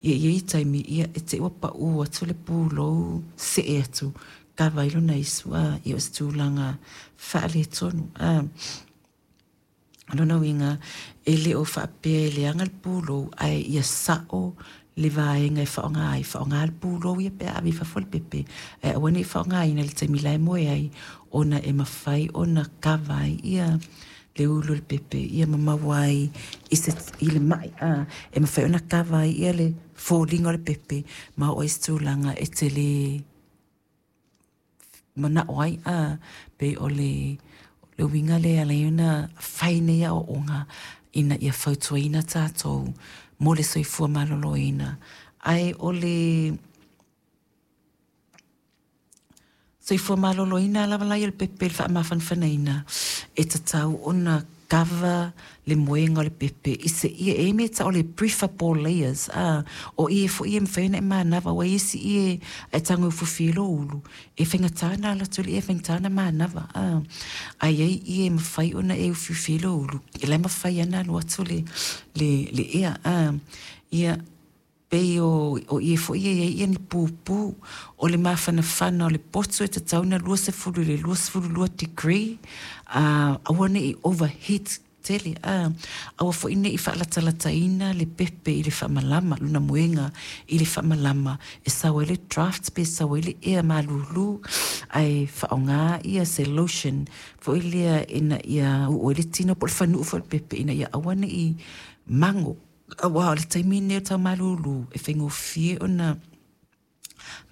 Ia i ai taimi, ia, e te i ua paʻū atu le pulou see atu kava ai lona isu, a, ia o se tulaga faaletonu, a. O lona uiga, e le o faapea e leaga le pulou, ae ia sao le vaega e faaaoga ai, faaaoga le pulou ia pe a ave i fafo le pepe, ae aua ne i faaaogaina i le taimi la e moe ai, ona e mafai ona kava ai ia le ulu o le pepe, ia ma maua ai i, se, i le mai, a, e mafai ona kava ai ia le foliga o le pepe, ma oo ai i se tulaga e te le manao ai, a, pei o le, le uiga lea e ala ai ona fai nei aoaoga ina ia fautuaina tatou mo le soifua maloloina. Ae o le soifua maloloina lava la ia o le pepe i le faamafanafanaina, e tatau ona kava le moega o le pepe i se ie e i ai mea e tau o le preferable layers a o ie foi ia e mafai ona e manava aua e i ai isi ie a e tago e ufiufi ai lou ulu e faigata ona alu atu le ie e faigata ona manava a ae i ai ie e mafai ona e ufiufi ai lou ulu e la e mafai lava ona alu atu le le ea a ia Pei o ie foi ia e i ai ni pupū. O le mafanafana o le potu e tatau ona 20 i le 22 degree, a aua ne i overheat tele, a aua foi ne i faalatalataina le pepe i le faamalama, lona moega i le faamalama e sau ai le draft pe sau ai le ea malulu, ae faaaoga ia se lotion foi lea ina ia uu ai le tino po o le fanuu foi o le pepe ina ia aua ne i mago. Aua o le taimi lenei o le tau malūlū, e faigofie ona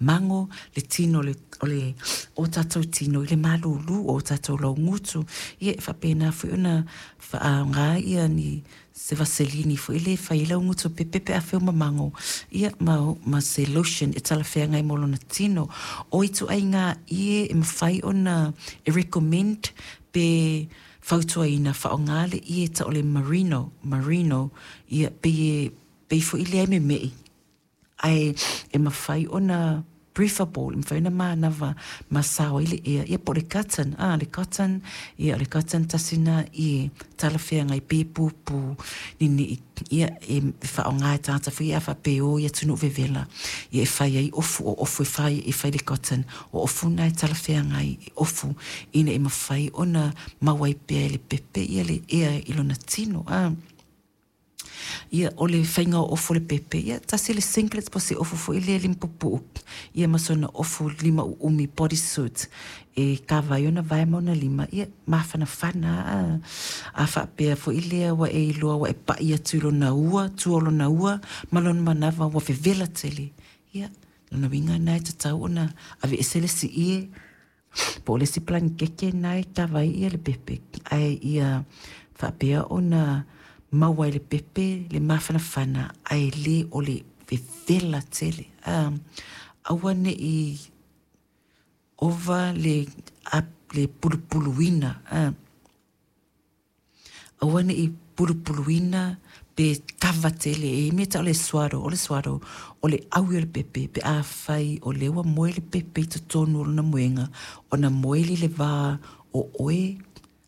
mago le tino o le o tatou tino i le malūlū o tatou laugutu. Ia e faapena foi ona faaaoga ia ni se vaselini foi lea e fai ai laugutu o pepe pe afai o mamago, ia ma, ma se lotion e talafeagai mo lona tino. O ituaiga ie e mafai ona e recommend pe fautuaina faaaoga le ie tau o le merino, merino, ia pei e pei foi lea e memeʻi ae e mafai ona breathable, e mafai ona manava ma sao ai le ea, ia po o le cotton, a le cotton, ia o le cotton tasi lena ie talafeagai pei e pupu ninii, ia e faaaoga e tagata foi ia a faapea e o i atunuu vevela, ia e fai ai ofu, o ofu e fai e fai i le cotton, o ofu na e talafeagai e ofu ina ia mafai ona maua ai pea e le pepe ia le ea i lona tino a. Ia, o le faiga o ofu o le pepe, ia, tasi le singlet po o se ofu foi lea limapupuu, ia ma sona ofu lima uumi body suit e kava ai ona vae ma ona lima, ia, mafanafana a. A faapea foi lea ua e iloa ua e paʻi atu i lona ua, tua o lona ua ma lona manava ua vevela tele, ia, lona uiga lena e tatau ona aveese le isi ie po o le isi palanikeke lena e kava ai ia le pepe, ae ia faapea ona maua e le pepe le mafanafana ae le o le vevela tele. A, aua ne i ova le, le pulupuluina, a. Aua ne i pulupuluina pe kava tele, e i ai mea tau o le swaddle, o le swaddle, o le ʻaui o le pepe pe afai o lea ua moe le pepe i totonu o lona moega, ona moe lea i le va o oe,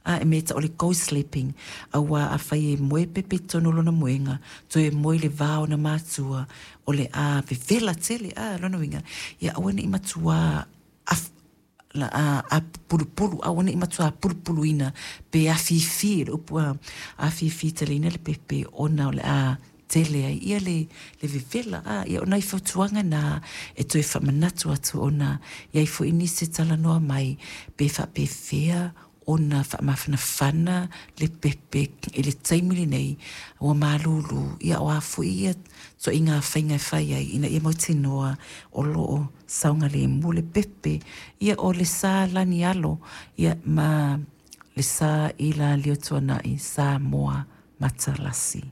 a e mea tau o le co-sleeping, aua afai e moe pepe i totonu o lona moega, toe moe i le va o ona matua, o le a vevela tele, a, lona uiga, ia aua ne i matuā a pulupulu, aua ne i matua pulupuluina pe afifi, le upu a afifi teleina le pepe ona o le a tele ai ia le, le vevela. A, ia o nai fautuaga na e toe faamanatu atu ona i ai foi nisi e talanoa mai pe faapefea ona faamafanafana le pepe i le taimi lenei ua malūlū, ia o a foi ia ituaiga faiga e fai ai ina ia mautinoa o lo o saogalemu le pepe, ia o le sa lani alo, ia ma le sa i Laliotuanai Samoa Matalasi.